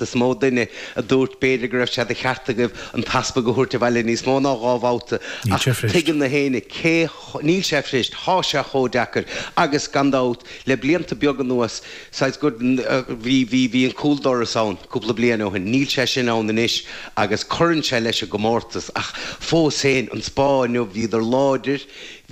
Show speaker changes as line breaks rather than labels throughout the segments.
Is mó duine a dúirt b'fhéidir go raibh sé de cheart agaibh an t-easpag a thabhairt abhaile níos mó ná 2 bhabhta
Níl
ach
sé fuirist.
tuigeann na héinne cé níl sé fuirist, thá sé chomh deacair agus gan dabht le blianta beaga anuas saghas go bhí bhí bhí an cúldoras ann cúpla bliain ó shin, níl sé sin ann anois agus cuireann sé leis an gcomórtas ach fós féin an Spá inniu bhíodar láidir,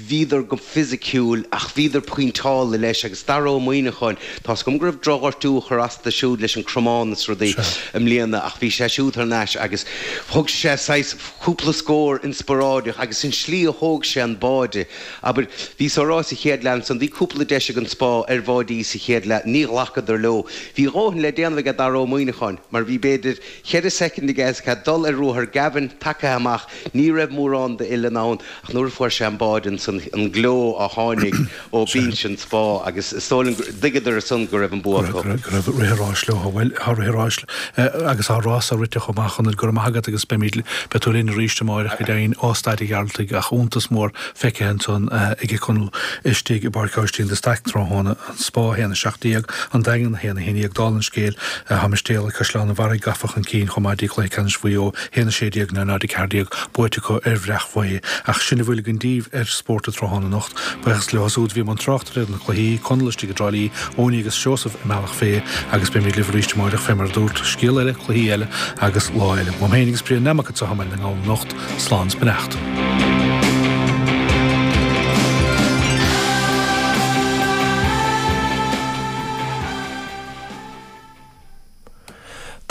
Bhíodar go fisiciúil ach bhíodar pointeáilte leis agus Dara Ó Muíneacháin, tá's agam go raibh drochghortú a chuir as do siúd leis an cromán is rudaí i mbliana ach bhí sé siúd thar n-ais agus thug sé saghas cúpla scór inspioráideach agus an slí a thóg sé an báide, abair, bhíos á rá sa chéad leath ansan, bhí cúpla deis ag an Spá ar bháidí sa chéad leath, ní ghlacadar leo. Bhí a dhóthain le déanamh aige Dara Ó Muíneacháin mar bhí b'fhéidir cheithre soicind aige is dul ar ruathar Gavin tagtha amach, ní raibh mórán d'uilleann ann. Ach nuair a fuair sé an báide ansan, an gleo a tháinig ó bhinse an Spá agus is dóigh liom gur thuigeadar ansan go raibh an bua acu.
Go raibh rith an ráis leo. Bhuel, tá rith an ráis agus tá rása rite chomh maith, a Chonaill. Go raibh maith agat agus beimid, beidh tú linn arís amáireach go deimhin ó Staid an Ghearaltaigh ach iontas mór feicthe ansan ag Conall istigh i bPáirc Aibhistín de Staic tráthnóna. An Spá 1, 17, An Daingean 1, 11, Dála an scéil, tá Mistéalaigh Caisleán an Bharraigh gafa chun cinn chomh maith dtí cluiche ceannais Mhaigh Eo, 1, 16, 0, 0, 14, buaite acu ar Bhreac Mhaigh Eo. Ach sin a bhfuil againn daoibh ar Spórt an Tráthnóna anocht. Buíochas leo siúd a bhí i mbun tráchtaireachta ar na cluichí, Conall istigh i dTrá Lí, Owenie agus Seosamh i mBealach Féich agus beimid libh arís amáireach fé mar a dúrt, scéal eile, cluichí eile agus lá eile. Uaim féin agus Brian Nammock anseo i mBaile na nGall anocht, slán is beannacht.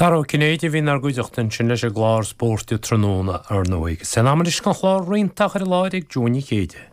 Dara Ó Cinnéide a bhí inár gcuideachta ansin leis an gclár Spórt Tráthnóna, ar ndóigh. Is é an am anois don chlár Rianta a chur i láthair ag Joe Nic Éide.